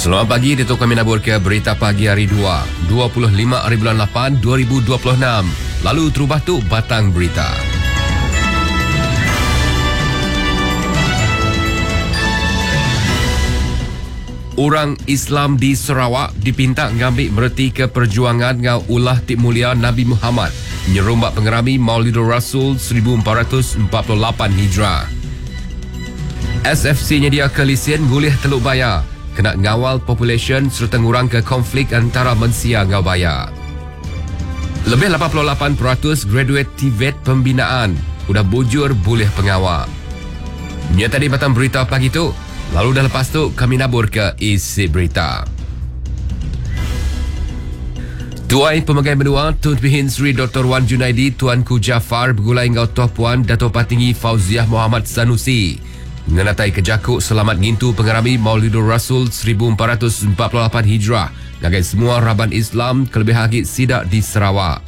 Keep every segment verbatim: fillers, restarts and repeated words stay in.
Selamat pagi, itu kami nabur ke berita pagi hari dua, dua puluh lima hari bulan lapan, dua ribu dua puluh enam. Lalu terubah tu batang berita. Orang Islam di Sarawak dipinta ngambil mereti ke perjuangan ngau ulah ti mulia Nabi Muhammad nyerumbak pengerami Maulidur Rasul seribu empat ratus empat puluh lapan Hijrah. S F C nyedia ke lisen ngulih Teluk Baya kena ngawal population serta ngurang ke konflik antara mensia ngau baya. Lebih lapan puluh lapan peratus graduate T V E T pembinaan udah bujur boleh pengawal. Nya tadi batang berita pagi tu. Lalu dah lepas tu kami nabur ke isi berita. Tuai Pemegai Menua Tun Pehin Sri Doktor Wan Junaidi Tuanku Jaafar bergulai ngau Toh Puan Dato' Patinggi Fauziah Muhammad Sanusi ngenatai kejakuk selamat ngintu pengerami Maulidur Rasul seribu empat ratus empat puluh lapan Hijrah ngagai semua raban Islam kelebih agi sidak di Sarawak.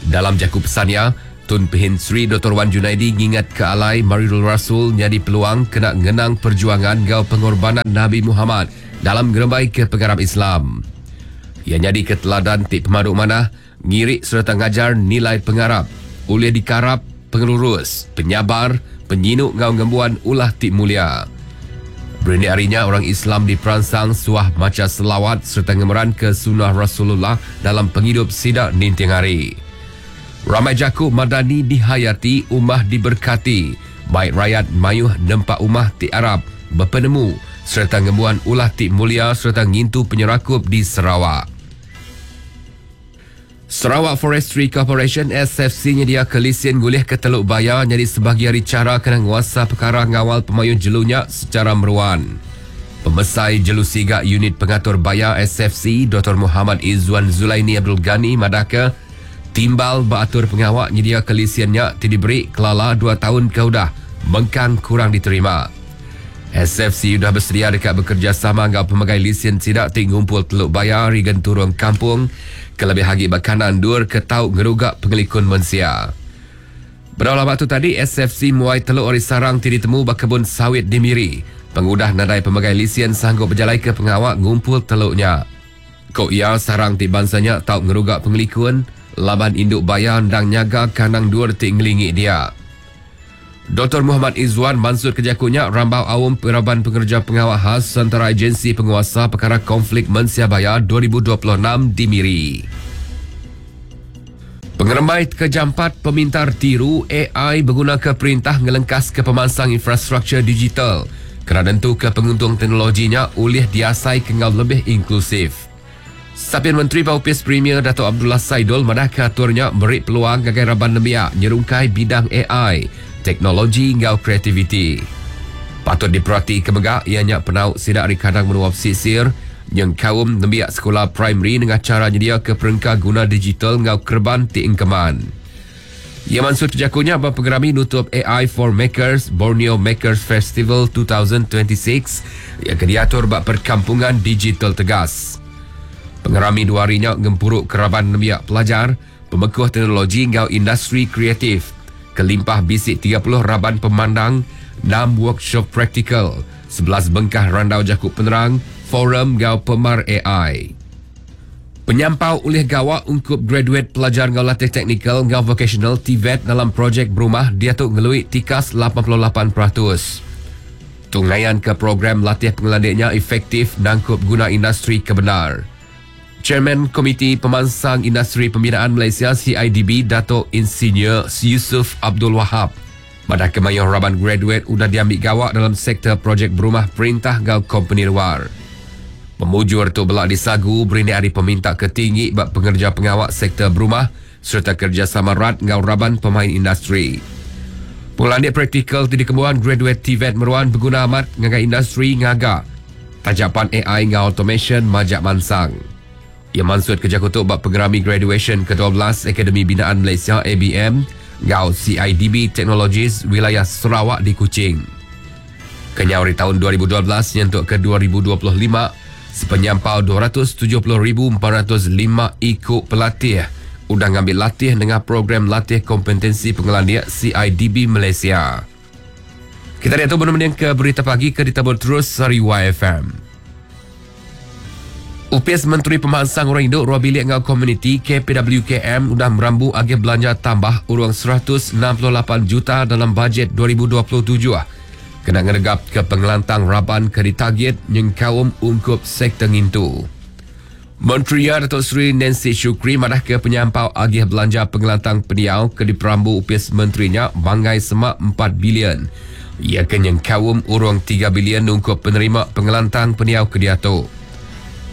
Dalam jaku pesannya, Tun Pehin Sri Doktor Wan Junaidi ngingat ke alai Maulidur Rasul nyadi peluang kena ngenang perjuangan ngau pengorbanan Nabi Muhammad dalam ngerembai ke pengarap Islam. Ia nyadi ke teladan ti pemaduk manah, ngirik serta ngajar nilai pengarap, oleh dikarap pengelurus, penyabar, penyinuk ngau ngembuan ulah ti mulia. Berindik harinya orang Islam di Peransang suah maca selawat serta ngemeran ke sunnah Rasulullah dalam penghidup sidak ninting hari. Ramai jakuk madani dihayati, umah diberkati. Baik rakyat mayuh nempak umah ti Arab, berpenemu serta ngembuan ulah ti mulia serta ngintu penyerakup di Sarawak. Sarawak Forestry Corporation S F C nyedia ke lisen gulih ke Teluk Baya jadi sebahagian dari cara kena nguasa perkara ngawal pemayun jelunya secara meruan. Pemesai Jelu Siga Unit Pengatur Baya S F C Doktor Muhammad Izzuan Zulaini Abdul Ghani madaka timbal beratur pengawak nyedia ke lisennya ti diberi kelala dua tahun ke udah mengkang kurang diterima. S F C sudah bersedia dekat bekerjasama dengan pemegai lisen sidak ti ngumpul Teluk Baya rigen turun kampung kelebih hagi bakanan dur ke tau ngerugak pengelikun mensia. Berapa tu tadi S F C muai teluk ori sarang ti ditemu bakebun sawit di Miri. Pengudah nadai pemegai lisen sanggup berjalai ke pengawak ngumpul teluknya. Kok ia sarang ti bangsanya tau ngerugak pengelikun laban induk bayar ndang nyaga kanang dur ti ngelingi dia. Doktor Muhammad Izzuan Mansur kejakunya rambau awam peraban pengerja pengawal khas antara agensi penguasa perkara konflik mensia bayar dua ribu dua puluh enam di Miri. Pengerembai kejampat pemintar tiru A I berguna ke perintah ngelengkas ke pemansang infrastruktur digital kerana tentu ke penguntung teknologinya oleh diasai kengal lebih inklusif. Sapien Menteri Paupis Premier Dato' Abdullah Saidol madah katurnya beri peluang gagai raban nembiak nyerungkai bidang A I, teknologi ngau kreativiti. Patut diperhati kemegak ianya penau sidak ari kadang menua pesisir yang kaum nembiak sekolah primary dengan cara nyedia ke perengka guna digital ngau kerban ti engkeman. Ia mansur kejakunya bab pengerami nutup A I for Makers Borneo Makers Festival dua ribu dua puluh enam yang diatur bab perkampungan digital tegas. Pengerami dua harinya ngempuruk keraban nembiak pelajar, pemekuh teknologi ngau industri kreatif. Kelimpah bisik tiga puluh raban pemandang, enam workshop praktikal, sebelas bengkah randau jakuk penerang, forum ngau pemar A I. Penyampau oleh gawak ungkup graduate pelajar ngau latih teknikal ngau vocational T V E T dalam projek berumah dia tu ngelui tikas lapan puluh lapan peratus. Tungaian ke program latih pengelandiknya efektif nangkup guna industri kebenar. Chairman Komiti Pemansang Industri Pembinaan Malaysia C I D B Dato' Insinyur Yusuf Abdul Wahab. Pada kemayoh raban graduate udah diambil gawak dalam sektor projek berumah perintah gau company luar. Pemujur tu belak disagu berindik hari peminta ketinggi bab pengerja pengawak sektor berumah serta kerjasama rat ngau raban pemain industri. Pengelandik praktikal ti dikembuan graduate T V E T meruan berguna amat ngagai industri ngaga. Tajapan A I ngau automation majak mansang. Ia mansut kerja kutuk bab pengerami graduation ke dua belas Akademi Binaan Malaysia A B M ngau C I D B Technologies wilayah Sarawak di Kuching. Kenyau dari tahun dua ribu dua belas nyentuk ke dua ribu dua puluh lima sepenyampau dua ratus tujuh puluh ribu empat ratus lima ikut pelatih udah ngambil latih dengan program latih kompetensi pengelandia C I D B Malaysia. Kita lihat tu benar-benar ke berita pagi ke ditabur terus dari Y F M. Upis Menteri Pemansang Orang Induk Ruang Bilik ngau Komuniti K P W K M udah merambu agih belanja tambah urang seratus enam puluh lapan juta dalam bajet dua ribu dua puluh tujuh. Kena ngeregap ke pengelantang raban ke ditagit nyengkaum ungkup sektor ngintu. Menteri Datuk Seri Nancy Shukri madah ke penyampau agih belanja pengelantang peniau ke diperambu upis menterinya banggai semak empat bilion. Ia ke nyengkaum urang tiga bilion ungkup penerima pengelantang peniau ke diatu.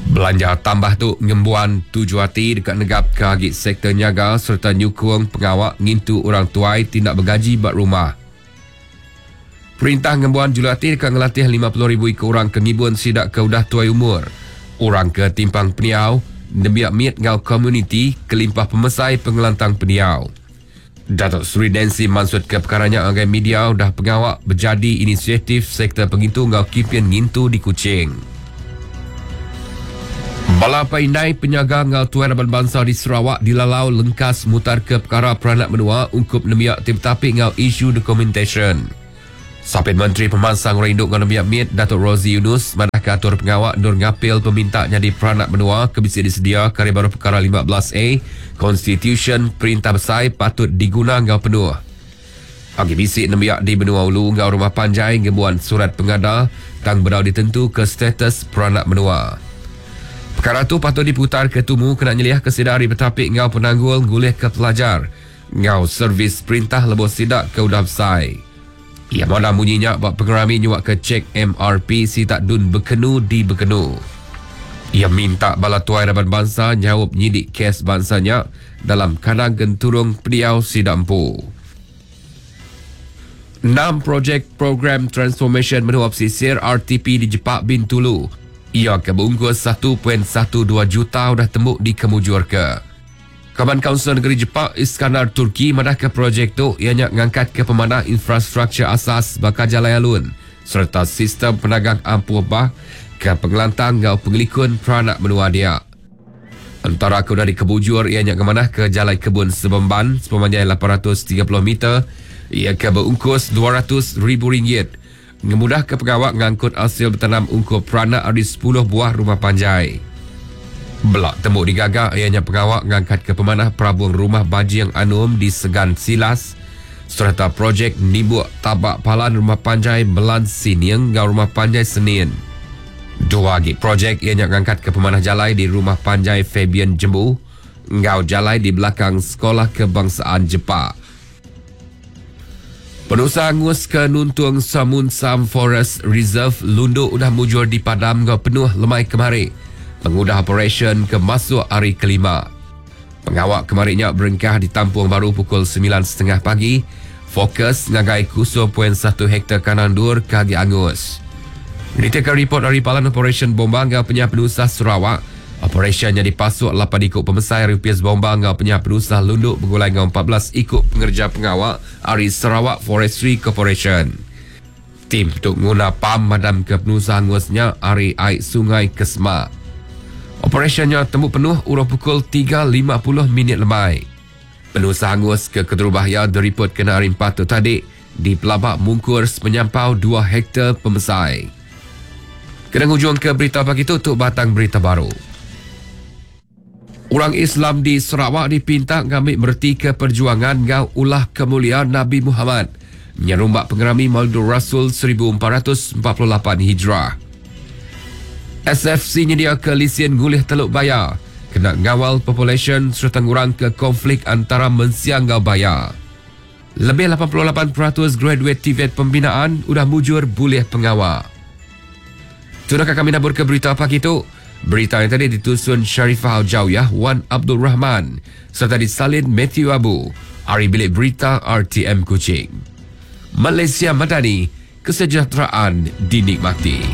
Belanja tambah tu ngembuan tuju hati dekat negap ke agi sektor nyaga serta nyukung pengawak ngintu orang tuai tindak bergaji bak rumah. Perintah ngembuan julati dekat ngelatih lima puluh ribu ikut orang ke ngibun sidak ke udah tuai umur. Orang ke timpang peniau, nembiak miet ngau komuniti kelimpah pemesai pengelantang peniau. Datuk Seri Nancy maksud ke perkaranya agai media udah pengawak berjadi inisiatif sektor pengintu ngau kipian ngintu di Kuching. Bala Paindai penyaga ngau tuan raban bangsa di Sarawak dilalau lengkas mutar ke perkara peranak menua ungkup nemiak tim tapi ngau isu documentation. Sapit Menteri Pemansang Orang Induk ngau Nemiak Miet Datuk Rosey Yunus madah ke atur pengawak nur ngapil peminta nyadi peranak menua ke bisa disedia kari baru perkara lima belas A Constitution Perintah Besai patut diguna ngau penuh. Agi bisik nemiak di benua ulu ngau rumah panjai ngebuan surat pengada tang berau ditentu ke status peranak menua. Perkara tu patut diputar ke tumu kena nyeliah ke sedari betapik ngau penanggul ngulih ke pelajar ngau servis perintah lebuh sidak ke udah besai. Ia malam bunyinya bak pengerami nyuak ke cek M R P si tak dun berkenu di berkenu. Ia minta bala tuai raban bangsa nyawab nyidik kes bangsanya dalam kadang genturung pediau sidak empu. Enam projek program transformation menua pesisir R T P di Jepak Bintulu. Ia kebungkus satu perpuluhan satu dua juta udah tembuk di Kemujur ke. Kaban Kaunsil Negeri Jepak Iskandar Turki madah ke projek tu ianya ngangkat ke pemanah infrastruktur asas bakal jalan alun serta sistem penagang ampuh bah ke pengelantang ngau pengelikun peranak menua dia. Antara ke udah dikebujur ianya kemanah ke Jalan Kebun Sebemban sepanjang lapan ratus tiga puluh meter ia ke berungkus dua ratus ribu ringgit. Ngemudah ke pengawak ngangkut hasil bertanam ungkup peranak dari sepuluh buah rumah panjai. Belak tembuk digagak ianya pengawak ngangkat ke pemanah perabung rumah Bajing Anum di Segan Silas serta projek Nibuk Tabak Palan Rumah Panjai Melan Sinieng ngau Rumah Panjai Senin. Dua lagi projek ianya ngangkat ke pemanah jalai di Rumah Panjai Fabian Jembu ngau jalai di belakang Sekolah Kebangsaan Jepak. Penusa angus ke Nuntung Samunsam Forest Reserve Lundu udah mujur di padam ngau penuh lemai kemari. Pengudah operasi ke masuk hari kelima. Pengawak kemarinya berengkah di Tampung Baru pukul sembilan setengah pagi. Fokus ngagai kosong perpuluhan satu hektar kanan dur kagi angus. Ditekan report dari Palan Operasi Bomba ngau Penyah Penusah Sarawak. Operasinya dipasuk lapan ikut pemesai Rupiah Bomba ngau Penyah Penusah Lunduk bergulai ngau empat belas ikut pengerja pengawak dari Sarawak Forestry Corporation. Tim untuk nguna pam madam ke penusah angusnya ari air sungai Kesma. Operasinya temu penuh urut pukul tiga lima puluh minit lemai. Penusah angus ke Keterubahaya diripot kena hari empat tu tadi di Pelabak Mungkur sepenyampau dua hektar pemesai. Kena hujung ke berita pagi tu untuk batang berita baru. Orang Islam di Sarawak dipinta ngambil merti ke perjuangan ngau ulah kemuliaan Nabi Muhammad. Nyerumbak pengerami Maulid Rasul seribu empat ratus empat puluh lapan Hijrah. S F C nyedia ke lisien gulih Teluk Baya. Kena ngawal population serta ngurang ke konflik antara mensia ngau baya. Lebih lapan puluh lapan peratus graduate T V E T pembinaan udah mujur bulih pengawal. Sudah kami nabur ke berita pagi tu. Berita yang tadi ditusun Sharifah Aljawiyah Wan Abdul Rahman serta disalin Matthew Abu. Ari Bilik Berita R T M Kuching. Malaysia Madani, kesejahteraan dinikmati.